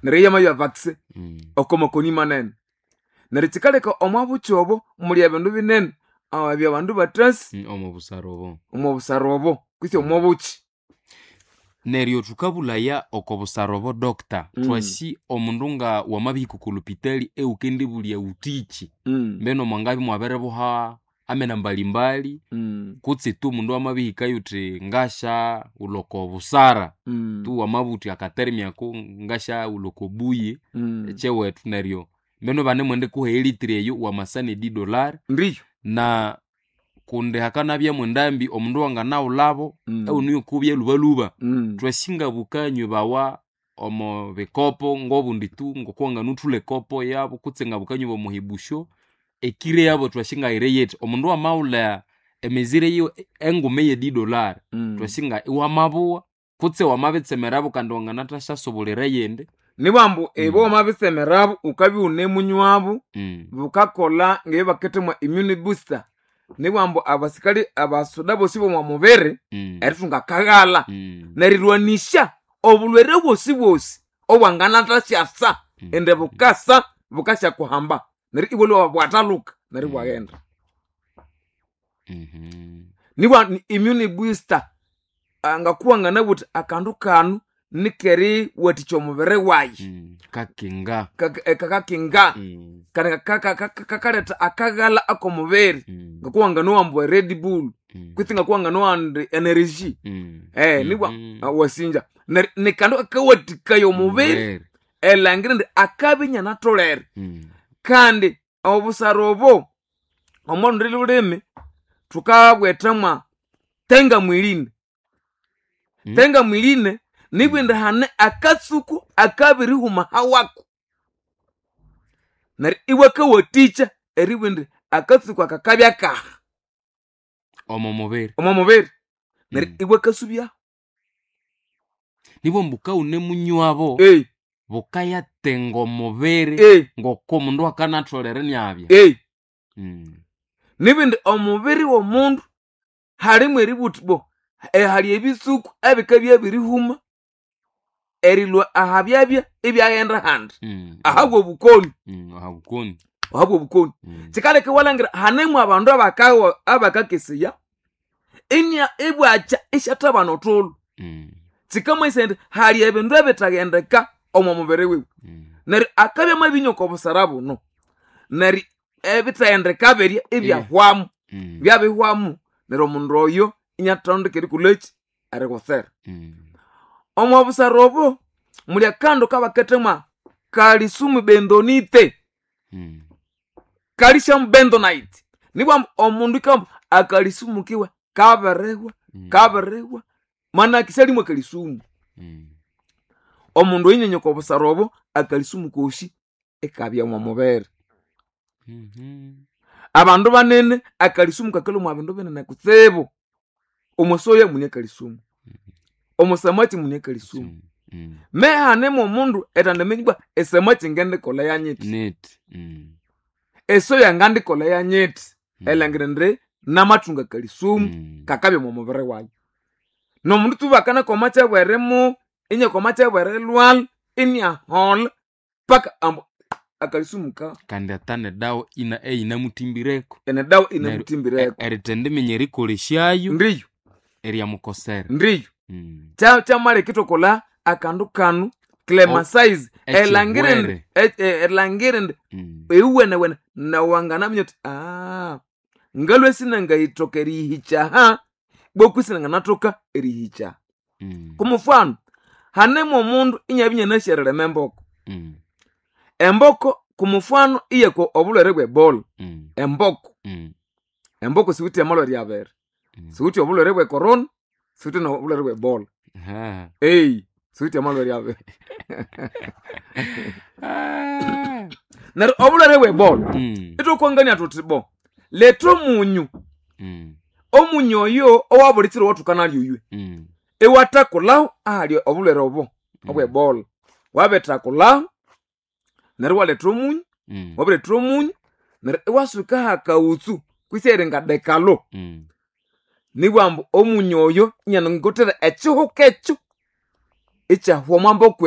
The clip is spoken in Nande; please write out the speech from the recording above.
Neryo yamabya vaccine oko makoni manene. Neryo kikaleka omwa bukyi obo muli ebindu binene ebya bandu batasi. Omo busara obo. Omo busara obo kwisi omo bukyi. Neryo thukabulaya oko busara obo, doctor, twasi omundu nga wamabihika oko lopitali ewukendibulya wuthikyi, mbeno mwangabya imwabiribuha amena mbalimbali, kutse tu omundu amabihikayo wuthi ngasyaghulha oko busara, tu wamabugha wuthi akatermi ako ngasyaghulha oko buyi ekyewethu, neryo mbeno ibanemwendikuha elitiri eyo wamasa ne $10. Ndiyo. Na kundi hakanabya mwendambi omundu wanganaghulhabo ewuno yikubya lhubalhuba. Twasi ngabukanywebawa omo bikopo ngobundi tu ngokuwanganathulha ekopo yabo kutse ngabukanywebawa omo hibusyo, ekiro yabo twasi ngayiri yithi omundu wamaghulha emezire yiwe enguma eye $10, twasi nga iwamabuwa kutse wamabitsemerabo kandi wanganathasyasubulira eyindi. Nibwambu ibo wamabitsemerabo wukabya iwunemunywabo, bukakolha ngebibakithemwa immune booster. Nibwambu abasikali abasoda bosi bomwa mubiri erithunga akaghalha nerirwanisya obulhwere bwosi bwosi obwanganathasyasa indi bukasa bukasyakuhamba neryo ibwalhwa bwathaluka neryo ibwaghenda. Nibwa immune booster ngakuwanganabugha wuthi akandu kanu nikeriwathikya omubiri wayi. Kakinga. Kakakinga kandi kakaletha akaghalha akomubiri, ngakuwanganowa ambu red bull kwitsi ngakuwanganowa indi energy, nibwa wasinja. Neryo nikandu kakawathikaya omubiri erilhangira indi akabya inyanatholere. Kandi obusara obo omo lundi lhulimi thukabwethamwa tenga mwiline. Tenga mwiline nibwa indi hane akatsuku akabirihuma hawako neryo iwakawathikya eribugha indi akatsuku aka kabya kaha. Omo mubiri. Omo mubiri neryo iwakasubyaho. Nibwa ambu wukawunemunywabo bukayatenga omubiri ngoko omundu akanatholere inabya. Nibwa indi omubiri womundu halimu eribugha wuthi bo hali ebitsuku ebikabya byabirihuma erilhwa ahabyabya ibyaghenda ahandi ahabwa obukoni. Ahabukoni. Ahabwa obukoni. Kikaleka iwalhangira hanemu abandu abakakeseya inya ibwakya isyathabana othulhu. Kikamanyisaya indi hali ebindu ebitaghendeka omo mubiri wiwe. Neryo akabya amabinywa oko busara buno neryo ebitaghendeka birya ibyahwamu. Byabihwamu neryo omundu oyo inyatondeka erikolhaki erikutsera. Omo busara obo muli akandu kabakithemwa calcium bentonite. Calcium bentonite. Nibwa ambu omundu ikambu akalisumu kiwe kabirihwa kabirihwa manake syalimu akalisumu. Omundu oyinyenya oko busara obo akalisumu kosi ikabya omo mubiri. Abandu banene akalisumu kakalhwa omwa bindu binene kutsibu. Omwa soya mune akalisumu, omo samaki mune akalisumu. Mehanemu omundu erithendiminya ibwa esamaki ngendikolha yanyithi, Nithi. esoya ngandikolha yanyithi, erilhangira indi namathunga akalisumu kakabya omo mubiri wayi. Nomundu tu bakanakoma kyabwerimu inyakoma kyabwerilhwalha iniaholha paka ambu akalisumu ka Kandi ata nedawa ina eyinamuthimbireko. Enedawa inamuthimbireko. Erithendiminya erikolesyayo Ndiyo. eryamukosera. Ndiyo. Kyamaleka ithwakolha akandu kanu clemasize erilhangira indi erilhangira indi iwuwenewene nawanganaminya wuthi ngalhwe sinangayithoka eriyihikya aha beku isinanganathoka eriyihikya. Kumufano hanemu omundu inyabya inyanasi erilima emboko. Emboko kumufano iyakwa obulhwere bwe ebola. Emboko. Emboko siwithe amalhwere abiri. Siwithe obulhwere bwe corona, siwithe nobulhwere bwe ebola. Siwithe amalhwere abiri. Neryo obulhwere bwe ebola ithwakwangania thuthi bo letha omunyu. Omunyu oyo owabuli kiro owathukanalya oywe iwathakulhaho ahali obulhwere obo obwe ebola. Wabithakulhaho neryo iwaletha omunyu, wabiretha omunyu neryo iwasukaho akaghutsu kwisi eringa dekalo. Nibwa ambu omunyu oyo inyanangothera ekihuka ekyo ikyahwa omwa mboko.